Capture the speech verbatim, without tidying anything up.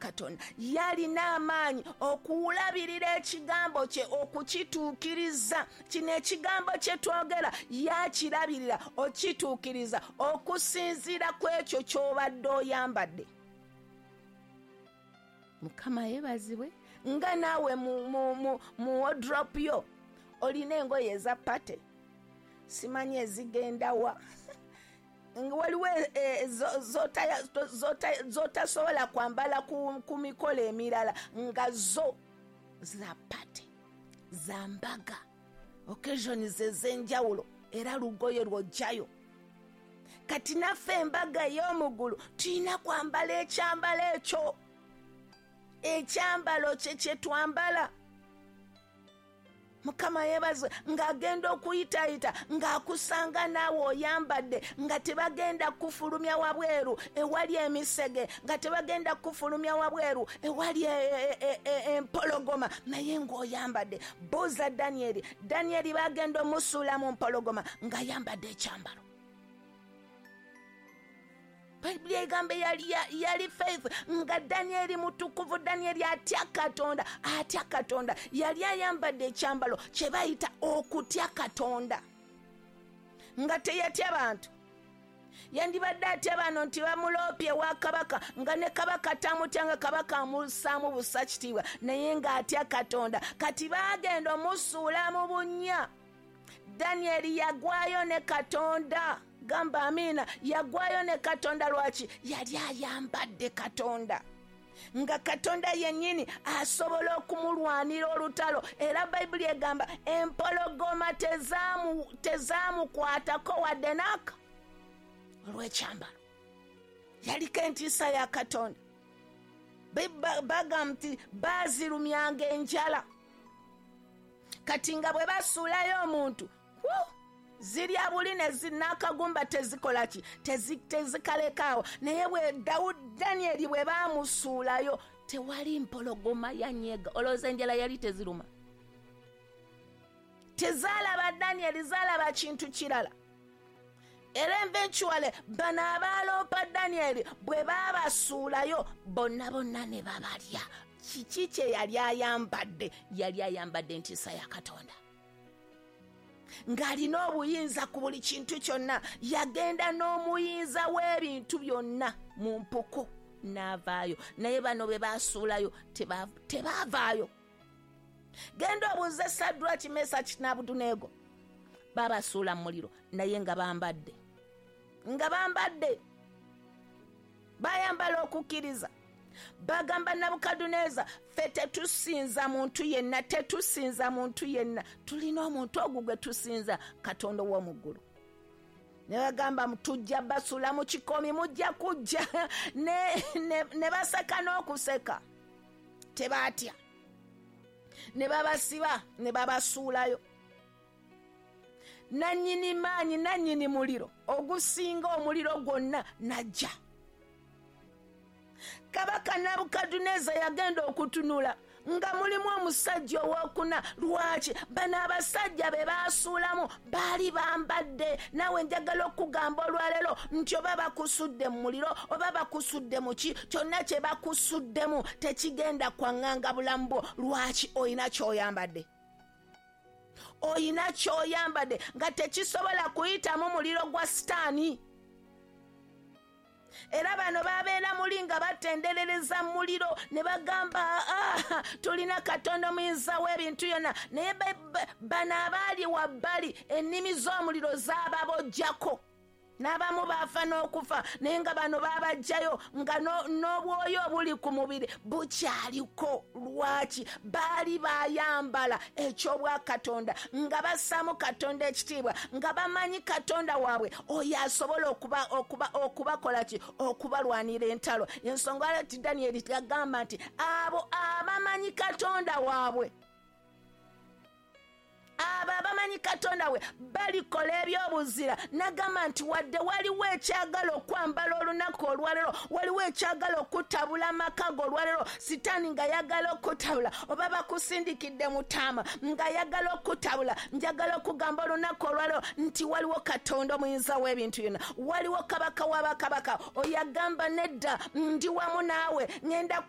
Katonda. Yalina amaanyi okulabirira ekigambo kye, okukituukiriza. Kino ekigambo kye twogera yakirabirira okituukiriza okusinziira ku ekyo ky'obadde oyambadde. Mukama yeebazibwe. Nga naawe mu, mu, mu, mu wardrobe yo olina engoye eza party, simanyi ezigendawa, waliwo z'otasobola kwambala ku, ku mikolo emirala, nga zo za party, za mbaga, occasions ez'enjawulo, era lugoye lw'ojjayo. Kati naffe embaga ey'omuggulu tulina kwambala ekyambalo ekyo, ekyambalo kye kye twambala. Mukama yeebazibwe. Ng'agenda okuyitayita ng'akusanga naawe oyambadde, nga tebagenda kufulumya wabweru ewali emisege, nga tebagenda kufulumya wabweru ewali empologoma, naye ng'oyambadde. Buuza Danyeri. Danyeri bagenda omusuula mu mpologoma ng'ayambadde ekyambalo. Bayibuli egamba yali, yali faith, nga Danyeri mutukuvu, Danyeri atya Katonda, atya Katonda. Yali ayambadde ekyambalo kye bayita okutya Katonda, nga teyatya bantu. Yandibadde atya bano nti bamuloopye wa kabaka, nga ne kabaka tamutya, nga kabaka amussaamu bussa kitiibwa, naye ng'atya Katonda. Kati baagenda omusuula mu bunnya. Danyeri yagwayo ne Katonda. Gamba amiina. Yagwayo ne Katonda. Lwaki? Yali ayambadde Katonda, nga Katonda yennyini asobola okumulwanira olutalo. Era Bayibuli egamba empologoma tezaamukwatako wadde n'aka olw'ekyambalo. Yaliko entiisa ya Katonda. Bagamba nti baazirumyanga enjala. Kati nga bwe basuulayo omuntu, zirya buli n'akagumba tezikola ki, tezikalekaawo. Naye bwe Danyeri bwe baamusuulayo tewali mpologoma yanyega. Olowooza enjala yali teziruma? Tezaalaba Danyeri, zaalaba kintu kirala. Era eventually bano abaaloopa Danyeri bwe baabasuulayo bonna bonna ne babalya. Kiki kye yali ayambadde? Yali ayambadde entiisa ya Katonda, ng'alina obuyinza ku buli kintu kyonna. Yagenda n'omuyinza w'ebintu byonna mu mpuku n'avaayo. Naye bano be baasuulayo tebaavaayo. Genda obuuze Sadraki, Mesaki n'Abeduneego, babasuula mu muliro naye nga bambadde, nga bambadde, bayambala okukkiriza. Bagamba Nabukadduneeza, ffe tetusinza muntu yenna, tetusinza muntu yenna, tulina omuntu ogwo gwe tusinza, Katonda ow'omu ggulu. Ne bagamba tujja basuula mu kikomi, mujja kujja. Ne, ne, ne baseka n'okuseka, tebaatya. Ne babasiba ne babasuulayo. Nannyini maanyi, nannyini muliro ogusinga omuliro gwonna najja. Kabaka Nabukadduneeza yagenda okutunula nga mulimu omusajja owokuna. Lwaki? Bano abasajja be baasuulamu baali bambadde. Naawe njagala okugamba olwaleero nti oba bakusudde mu muliro oba bakusudde mu ki, kyonna kye bakusuddemu tekigenda kwaŋŋanga bulamu bwo. Lwaki? Olina ky'oyambadde, olina ky'oyambadde nga tekisobola kuyitamu muliro gwa Sitaani. Era bano babeera muli nga batenderereza muliro ne bagamba ah, tulina Katonda omuyinza w'ebintu byonna. Naye bano abaali wabbali ennimi z'omuliro zaababojjako, n'abamu baafa n'okufa, naye nga bano baabajjayo nga n'obwoyo obuli ku mubiri bukyaliko. Lwaki? Baali bayambala eky'obwakatonda, nga bassaamu Katonda ekitiibwa, nga bamanyi Katonda waabwe oyo asobola okuba okuba okubakola ki, okubalwanira entalo. Ensonga nti Danyeri yagamba nti abo abamanyi Katonda waabwe, abo abamanyi Katonda we balikola ebyobuzira. Nagamba nti wadde waliwo ekyagala okwambala olunaku olwaleero, waliwo ekyagala okutabula amaka go olwaleero, Sitaani nga yagala okutabula, oba bakusindikidde mutaama nga yagala okutabula, njagala okugamba olunaku olwaleero nti waliwo Katonda omuyinza w'ebintu byonna, waliwo Kabaka w'abakabaka oyo agamba nedda, ndi wamu naawe, ŋŋenda